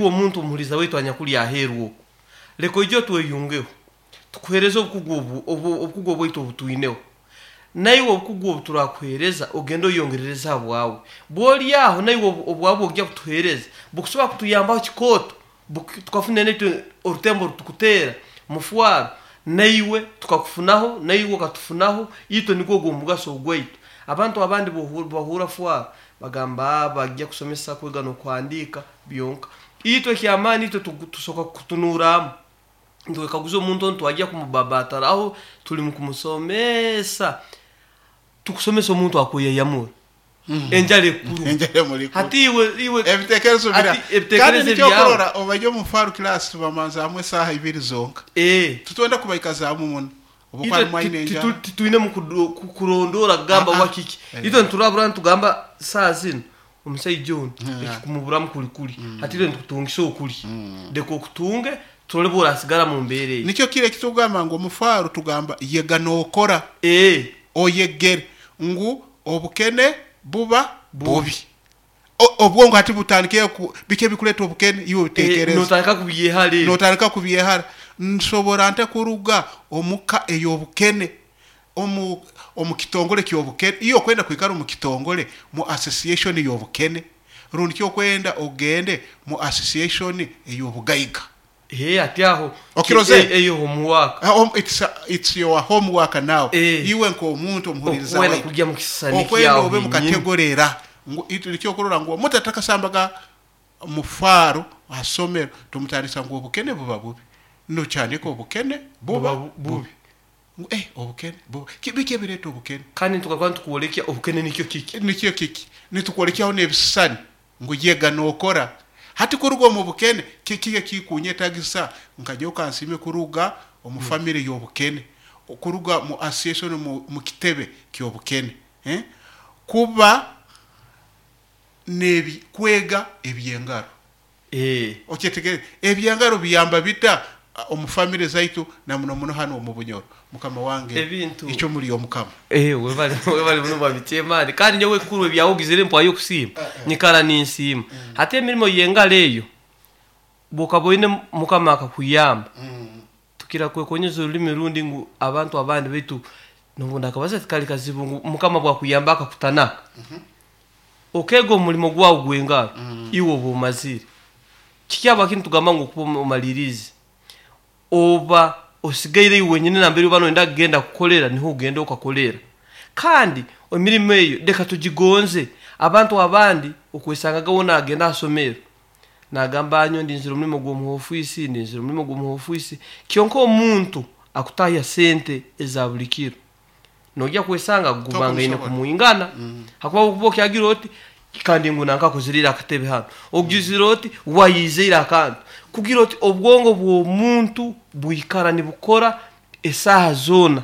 Iwe omuntu omuhuriza waitu anyakuli aheeru oku, leka oije otweyungeho, tukuheereze obukugu obu, obu, obukugu obwaitu obu twineho. Naiwe obukugu obu turakuheereza ogende oyongerereze ha bwawe. Bw'oli aho naiwe obu, obwawe obu ogya kutuheereza bukusobora kutuyambaho kikooto, buku, tukafuna naitwe orutembo oru tukuteera mufwaro, naiwe tukakufunaho, naiwe okatufunaho, itwe nigwo ogu omugaso ogwaitu. Abantu abandi obu bahurra fwaro, bagamba aa bagya kusomesa kwega n'okuhandiika byonka. Itwe eky'amaani itwe tusoka kutunuuramu, nitwekaguza omuntu onu twagya kumubabaataraho, tuli mu kumusomeesa, tukusomesa omuntu akweyayamura, enjara ekukuruma. Enjara emuri kuruma. Hati iwe iwe Ebitekerezo bira. hati Kandi ebitekerezo nikyo ebyawe. okurora obu omu faru class tubamanzaamu esaaha ibiri zonka. Titwenda kubaikazaamu muno. Obu Itwe harimu aine enjara. titwinemu kurondoora kugamba Ah, ah. oba kiki. Itwe niturabura nitugamba saaha zinu omusaija onu ekikumuburamu kuli kuli. Hati itwe nitukutungisa okuli. Leka okutunge turole obu orasigara mu mbeera egi. Nikyo kiro eki tugamba ngu omu faru tugamba yega nookora. Oyegere ngu obukene buba bubi. Obwongo hati butandikire ku biki ebikureeta obukene iwe obiteekereze. Nootandika kubyehara ebyo. Nootandika kubyehara. Nsobora nta kuruga omu ka ey'obukene, omu omu kitongore ky'obukene? Iwe okwenda kwikara omu kitongore mu association y'obukene rundi ki okwenda ogende mu association ey'obugaiga? Hee hati aho Okirozere? eyo homework. It's, it's your homework now. Iwe nk'omuntu omuhuririza Okwenda waitu. kugya mu kisisani Okwenda kyaho obe mu henyini. category era ngu itwe nikyo okurora ngu omuntu atakasambaga mufaro ha somero tumutandisa ngu obukene buba bubi. Nokyandika obukene buba Buba bubi. bubi. Ngu eh obukene buba ki biki ebireeta obukene? Kandi nitugaruka nitukwolekya obukene nikyo kiki. Nikyo kiki. Nitukwolekyaho n'ebisisani ngu yega nookora. Hati kuruga omu bukene, kiki ekikunyetagisa nka nyowe kansiime kuruga omu famire y'obukene, kuruga mu association mu kitebe ky'obukene, eh, kuba n'ebi kwega eby'engaro. Okyetegereze? Eby'engaro biyamba bita omu famire zaitu na muno muno hanu omu Bunyoro? Mukama wange, Ebintu. ikyo muri Omukama. Webale webale muno Mwami Chairman. Kandi nyowe ekikuru ebyawe ogizire mpwayo okusiima, nyikara ninsiima. Hati emirimo y'engaro eyo, bwokaba oine Mukama akakuyamba, tukira kwekonyeza orurimi rundi ngu abantu abandi baitu nobu ndakabaza tikari kazibu ngu Mukama bwakuyamba akakutanaka, okeega omurimo gwawe gw'engaro, iwe oba omazire. Kiki habwaki nitugamba ngu okuba omaliriize? Oba osigaire iwe wenyini nambere oba noyenda kugenda kukolera niho ogenda okakolera. Kandi emirimo eyo leka tugigonze. Abantu abandi okwesangaga we nagenda ha somero nagamba nyowe ndinzire omurimo gw'omu ofiisi, ndinzire omurimo gw'omu ofiisi. Kyonka omuntu akutahya sente eza buli kiro noija kwesanga gumangaine Tokubisobora. kumwingana. Hakuba okuba okyagira oti kandi ngu nanka akozire ira akatebe hanu, ogizire oti wayizeire akantu. Kugira oti obwongo bw'omuntu bwikara nibukora esaaha zoona.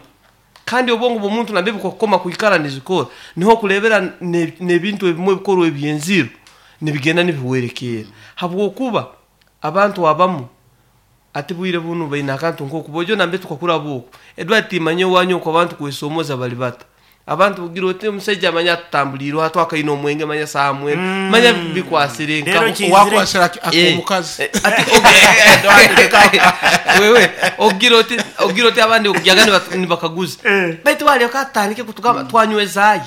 Kandi obwongo bw'omuntu nambere bukakukoma kwikara nizikora, niho okureebera n'ebintu ebimwe ebikorwa eby'enziro nibigenda nibihwerekerra. Habwokuba abantu abamu hati bwire bunu baine akantu nk'oku, bojo nambere tukakuraba oku, Edward tiimanya owanyu oku abantu kwesoomooza bali bata. Abantu ogira oti omusaija manya atutambuliireho hati akaine omwenge manya saaha mwenda, manya bikwasire Reero nkaho. kinzire. Wakwasire ak'omukazi. Ati wewe ogira oti ogira oti abandi okugyaga nibakaguza baitu baryoka atandike kutugamba twanywezaayi.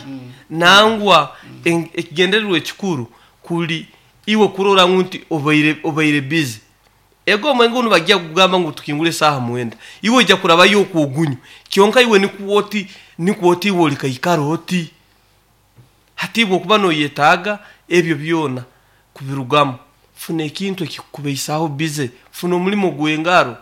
Nangwa ekigendererwa ekikuru kuri iwe kurora ngu nti obaire obaire busy. Ego omwenge gunu nibagya kugamba ngu tukingure esaaha mwenda, iwe oija kurabayo okwo ogunywe, kyonka iwe nikwo oti nikwo oti iwe orikaikara oti. Hati iwe okuba noyetaaga ebyo byona kubirugamu, funa ekintu ekikukubaisaaho busy, funa omurimo gw'engaro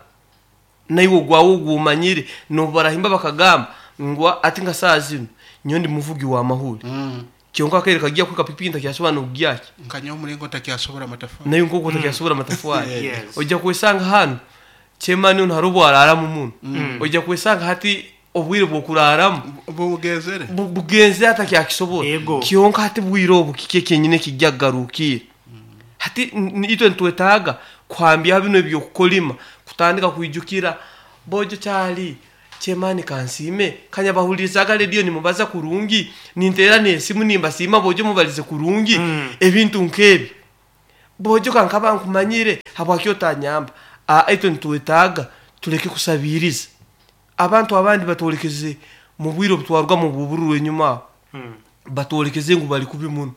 naiwe ogwawe ogu omanyire. N'obu barahimba bakagamba ngu hati nka saaha zinu nyowe ndi muvugi w'amahuri, Kyonka akaire kagya kuhika pikipiki ntakyasobora n'okugya ki. Nka nyowe omulingo ntakyasobora amatafari. Naiwe nk'oku otakyasobora amatafari. Yes. Oija kwesanga hanu chairman onu haroho obu araaramu muno. Oija kwesanga hati obwire bw'okuraaramu Bugenzere. bugenzere atakyakisobora. Ego. Kyonka hati bwire obu kiki ekyenyini ekijja kugarukiira? Hati itwe nitwetaaga kuhambyaho binu eby'okukolima, kutandika kwijukira bojo kyali Chairman kansiime, kanyabahuririzaaga rediyo nimubaza kurungi, ninteera n'esimu nimbasiima bojo mubalize kurungi, ebintu nk'ebyo. Bojo nkaba nkumanyire habwaki otanyamba? Itwe nitwetaaga tuleke kusabiiriza. Abantu abandi batwolekeze mu bwire obutwarwamu obubururu enyuma aho. Batwolekeze ngu bali kubi muno.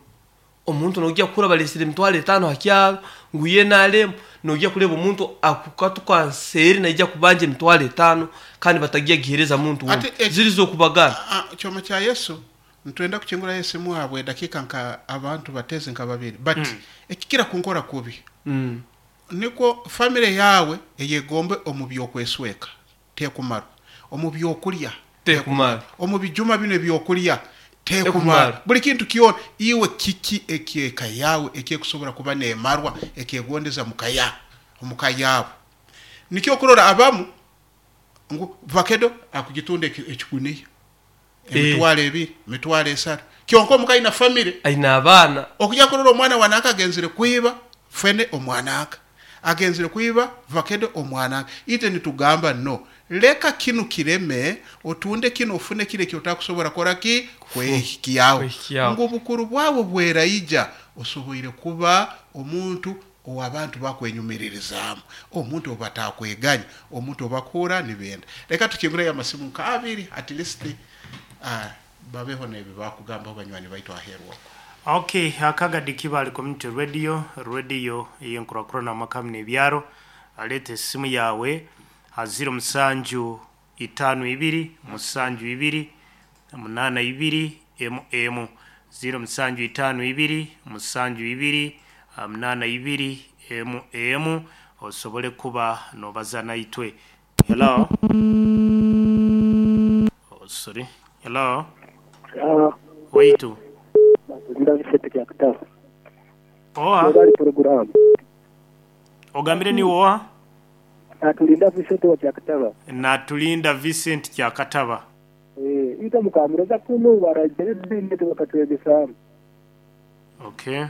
Omuntu nojya kukura balesire 50,000 ha kyaro ngu ye nalemu, nojya kuleba omuntu akukatuka nseeri naija kubanja 50,000 kandi batagya gihereza muntu Ate wundi. Ziri z'okubagana. Kyoma kya Yesu nitwenda kukingurayo esimu habwe dakiika nka abantu bateze nka babiri, but ekikira kunkora kubi nikwo family yawe eyegombe omu byokwesweka tekumarwa, omu byokulya Tekumara. omu bijuma bino ebyokulya tekumara, Tekumara. buli kintu kyona. Iwe kiki ekyeka yawe ekyekusobora kuba nemarwa ekyegondeza mukaya omuka yabo? Nikyo okurora abamu ngu vakedo akugitunda ekiguniya 20,000, 30,000, kyonka omuka aina family, Aina abaana. Okujya kurora omwana wanaka agenzire kwiba fene, omwana aka agenzire kwiba vakedo, omwana aka. Ite nitugamba no, leka kinu kireme, otunde kinu, ofune kile ekyotakusobora kora ki kwehikyaho. Kwehikyaho. Ngu obukuru bwawe bweraija osoboire kuba omuntu owabantu bakwenyumiririzaamu, omuntu obatakweganya, omuntu obakura nibenda. Leka tukingurayo amasimu nka abiri at least, babeho nebi bakugambaho banywani baitu aheru okwo. Okay, akagadi Kibale Community Radio, radio ey'enkurakurana amaka hamwe n'ebyaro. Aleeta esimu yawe ha 0 7 52 72 82 emu emu, 0752 72 82 emu emu, osobole kuba nobaza naitwe. Hello. Oh, sorry. Hello. Waitu. Nda Vincent Kyakutaba. Oha. Bali program. Ogambire ni oha? Natulinda Vincent wa Kyakutaba. Natulinda Vincent Kyakataba. Ita mukamuroza kuno barajere dini bakatwegesamu. Okay.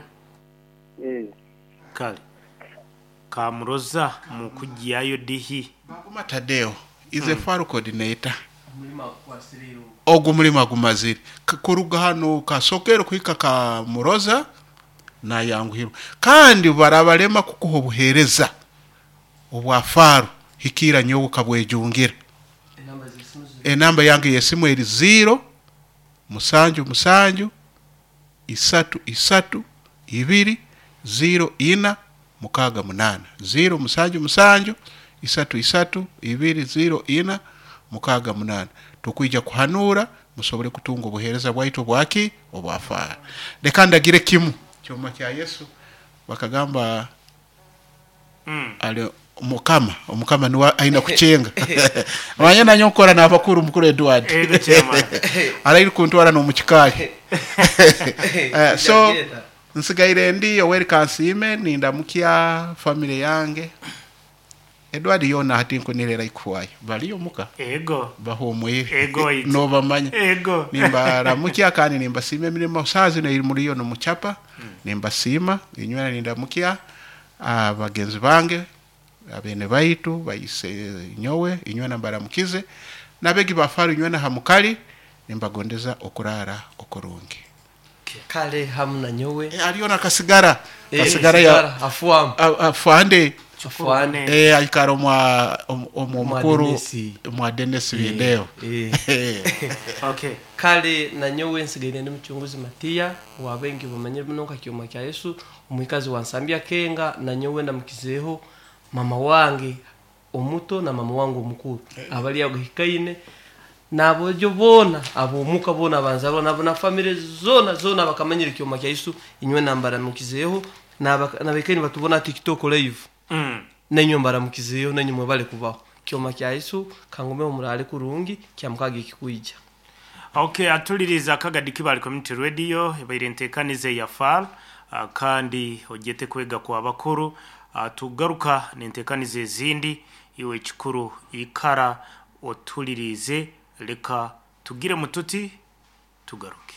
Kale. Kamuroza mukugyayo dihi. Baguma Tadeo is a far coordinator. Ogwo mulimo agumazire kuruga hano kasokero kuhika Kamuroza nayanguhirwa, kandi barabalema kukuha obuhereza obwa faro hikira nyowe kabwejungira. Enamba yange yesimu eri 0 7 7 3 3 2 0 4 6 8, 0 7 7 3 3 2 0 4 6 8. Tukwija kuhanura musobole kutunga obuhereza bwaitu bwaki obwafara. Leka ndagire kimu kyoma kya Yesu bakagamba ali mukama, omukama niwe aina kuchenga. Manya nanyo nkora n'abakuru, mukuru Edward. Ego, chairman. Arairi kuntwara n'omukikaali. So nsigaire ndi Yoweri Kansiime, nindamukya family yange. Edward yona hati nkunirera ikuwayo baliyo muka. Ego. Bahumwire. Ego, ito. Nobamanya. Ego. Nimbaramukya kandi nimbasiima emirimo saa zino eri muriyo nomuchapa. Nimbasiima inywera, nindamukya bagenzi bange, abene baitu baise nyowe, inywena mbaramukize nabegi bafaru inywena hamukali, nimbagondeza okurara okurungi. Kale hamu na nyowe. Aliyo na kasigara. Kasigara ya Sigara, afuamu. Afande. Afuane. Aikara omwa omwa mukuru. Dennis. Mwa Dennis Bindeo. Okay. Kale na nyowe nsigaire ndi muchunguzi Matiya wabengi bamanyire muno nka Kyoma kya Yesu, omwikazi wa Nsambya Kenga. Na nyowe ndamukizeho mama wange omuto na mama wange omukuru abali aguhikaine nabojo bona abomuka bona banzarwa nabo na family zona zona bakamanyira Kyoma kya Yesu, inywe nambara mukizeho nabekaini batubona TikTok live. Nenyo mbaramukizeyo, nenyo mwebale kubaho. Kyoma kya Yesu kangume omurale kurungi kyamukaga ekikuija. Okay, atuliriza akagadi Kibale Community Radio, ebaire enteekanize ya FAR, kandi ogyete kwega kwa bakuru. Tugaruka n'enteekanize ezindi. Iwe ekikuru ikara otulirize, leka tugire mututi tugaruke.